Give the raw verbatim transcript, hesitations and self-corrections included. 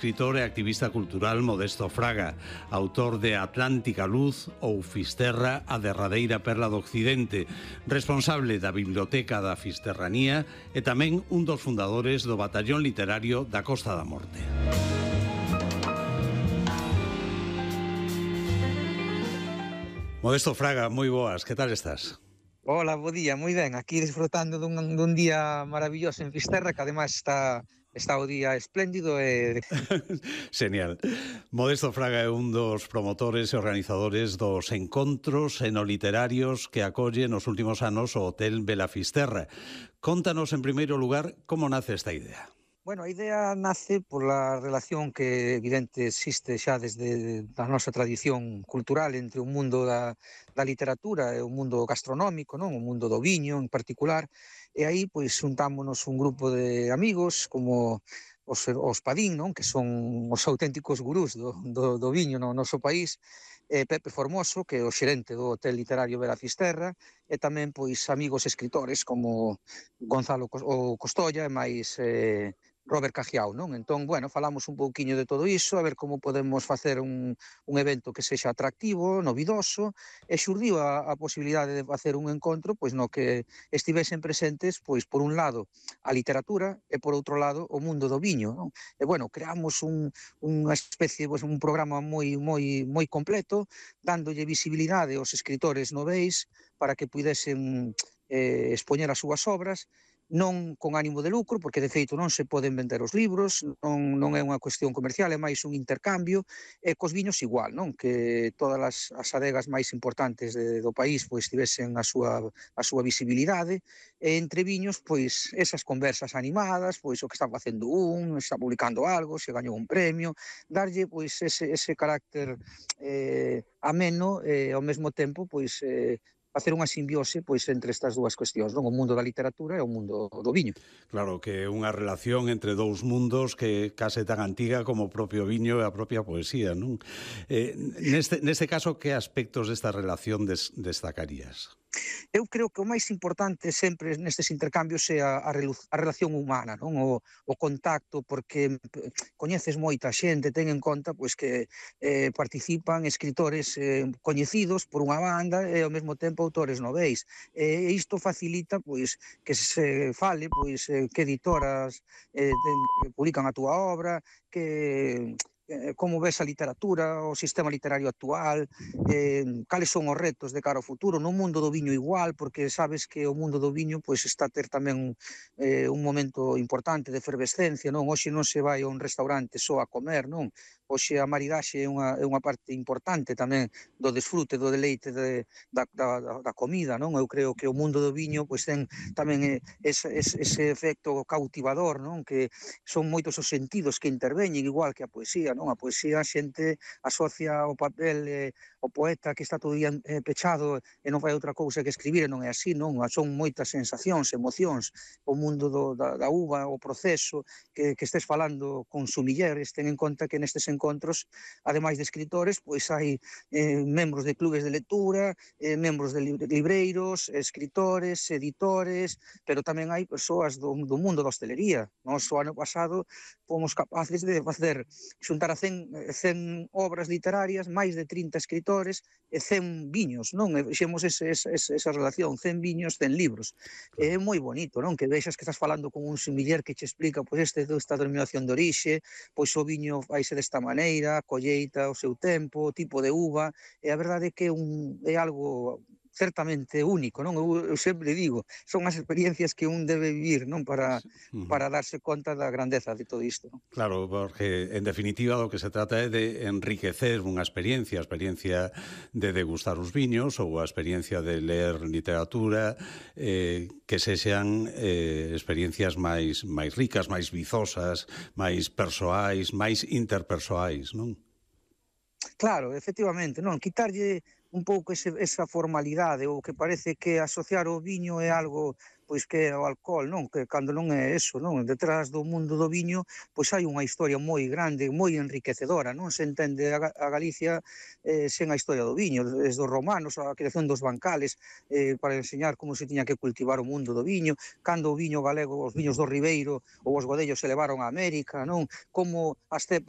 Escritor e activista cultural Modesto Fraga, autor de Atlántica Luz ou Fisterra, a derradeira perla do Occidente, responsable da Biblioteca da Fisterranía e tamén un dos fundadores do Batallón Literario da Costa da Morte. Modesto Fraga, moi boas, que tal estás? Hola, bo día, moi ben, aquí disfrutando dun, dun día maravilloso en Fisterra, que ademais está, está o día espléndido e... Genial. Modesto Fraga é un dos promotores e organizadores dos encontros enoliterarios que acolle nos últimos anos o Hotel Vela Fisterra. Contanos, en primeiro lugar, como nace esta idea. Bueno, a idea nace pola relación que evidente existe xa desde a nosa tradición cultural entre o mundo da, da literatura e o mundo gastronómico, non? O mundo do viño en particular, e aí pois xuntámonos un grupo de amigos como os, os Padín, non? Que son os auténticos gurús do, do, do viño no noso país, e Pepe Formoso, que é o xerente do Hotel Literario Vela Fisterra, e tamén pois amigos escritores como Gonzalo o Costolla e máis eh, Robert Cajiao, non? Entón, bueno, falamos un pouquiño de todo iso, a ver como podemos facer un, un evento que sexa atractivo, novidoso, e xurdiu a, a posibilidade de facer un encontro pois no que estivesen presentes, pois por un lado a literatura e por outro lado o mundo do viño, non? E bueno, creamos un, unha especie, pois, un programa moi moi moi completo, dándolle visibilidade aos escritores noveis para que pudesen eh, expoñer as súas obras, non con ánimo de lucro, porque de feito non se poden vender os libros, non, non é unha cuestión comercial, é máis un intercambio, e cos viños igual, non? Que todas as, as adegas máis importantes de, do país pois tivesen a súa, a súa visibilidade, e entre viños, pois, esas conversas animadas, pois o que está facendo un, está publicando algo, se gañou un premio, darlle, pois, ese, ese carácter eh, ameno, e ao mesmo tempo, pois, eh, facer unha simbiose pois entre estas dúas cuestións, non? O mundo da literatura e o mundo do viño. Claro, que é unha relación entre dous mundos que case tan antiga como o propio viño e a propia poesía, non? Eh, neste, neste caso, que aspectos desta relación des, destacarías? Eu creo que o máis importante sempre nestes intercambios é a, a, a relación humana, non? O, o contacto, porque coñeces moita xente, ten en conta pois que eh, participan escritores eh, coñecidos por unha banda e ao mesmo tempo autores noveis. E isto facilita pois que se fale pois eh, que editoras eh, ten, publican a túa obra, que como ves a literatura, o sistema literario actual, eh, cales son os retos de cara ao futuro, no mundo do viño igual, porque sabes que o mundo do viño pois está a ter tamén eh, un momento importante de efervescencia, non? Hoxe non se vai a un restaurante só a comer, non? Hoxe a maridaxe é unha, é unha parte importante tamén do desfrute, do deleite de, da, da, da comida, non? Eu creo que o mundo do viño pois ten tamén ese, ese, ese efecto cautivador, non? Que son moitos os sentidos que interveñen, igual que a poesía, non? A poesía a xente asocia o papel, eh, o poeta que está todo día eh, pechado e non fai outra cousa que escribir, e non é así, non? Son moitas sensacións, emocións, o mundo do, da, da uva, o proceso, que, que estés falando con sumilleres, ten en conta que nestes encontros, ademais de escritores, pois hai eh, membros de clubes de lectura, eh, membros de libreiros, escritores, editores, pero tamén hai persoas do, do mundo da hostelería. Nos o ano pasado fomos capaces de facer xuntar a cen, cen obras literarias, máis de trinta escritores e cen viños, non? E fixemos ese, ese, esa relación, cen viños, cen libros. Claro. É moi bonito, non? Que vexas que estás falando con un sumiller que che explica pois este esta denominación de orixe, pois o viño faise desta maneira, a colleita, o seu tempo, o tipo de uva, e a verdade é que é, un, é algo certamente único, non? Eu, eu sempre digo, son as experiencias que un debe vivir, non? Para, para darse conta da grandeza de todo isto, non? Claro, porque en definitiva do que se trata é de enriquecer unha experiencia, a experiencia de degustar os viños ou a experiencia de ler literatura, eh, que sexan eh, experiencias máis, máis ricas, máis vizosas, máis persoais, máis interpersoais, non? Claro, efectivamente, non? Quitarlle un pouco ese, esa formalidade, ou que parece que asociar o viño é algo pois que é o alcohol, non? Que cando non é eso, non? Detrás do mundo do viño, pois hai unha historia moi grande, moi enriquecedora, non se entende a, a Galicia eh, sen a historia do viño, desde os romanos, a creación dos bancales, eh, para enseñar como se tiña que cultivar o mundo do viño, cando o viño galego, os viños do Ribeiro ou os godellos se levaron a América, non? Como as cepas